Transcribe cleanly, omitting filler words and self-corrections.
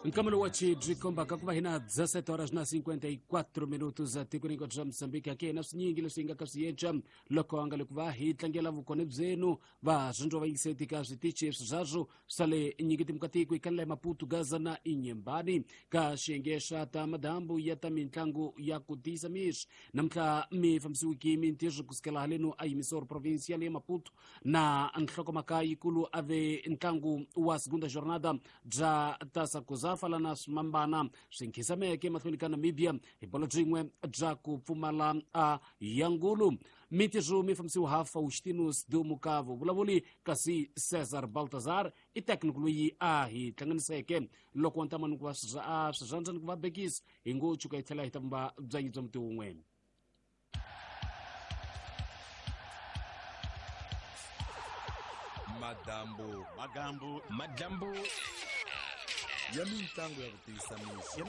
Nkamelo wa chibyi kombaka ku va hina 17 horas na 54 minutos tikweni hinkwabyo bya Mozambique. Ake na swinyingi leswi hi nga ka swi yenca loko a nga le ku va hi tlangela vukona byenu va swindzo va yingiseti ka switichi swi swa le nyiketimu ka tiko ikalela Maputo, Gaza na Inhambane ka xiyenge xa ta madambu ya ta mitlangu ya ku tiyisa miri. Namuntlha mi fambisiwiki mintirho kusukela haleno a yimisoro provincial ya Maputo na nhlokomhaka yikulu a ve ntlangu wa segunda jornada bya tasa kuzafa lana swimambana swi nkhisameke mahlweni ka Namibia hi bolo byin'we bya ku pfumala a yangulu. Mintirho mi fambisiwa ha Faustino Dumukavo vulavuli, kasi Cesar Baltazar i técnico loyi a hi hlanganiseke loko wa ntamani ku va swirhandza ni ku va bekisa hi ngo tshuka hi tlhela hi ta vumba byanyi bya muti wun'we. Madambu Magambu Magambu ya mitlangu ya ku tiyisa mixo.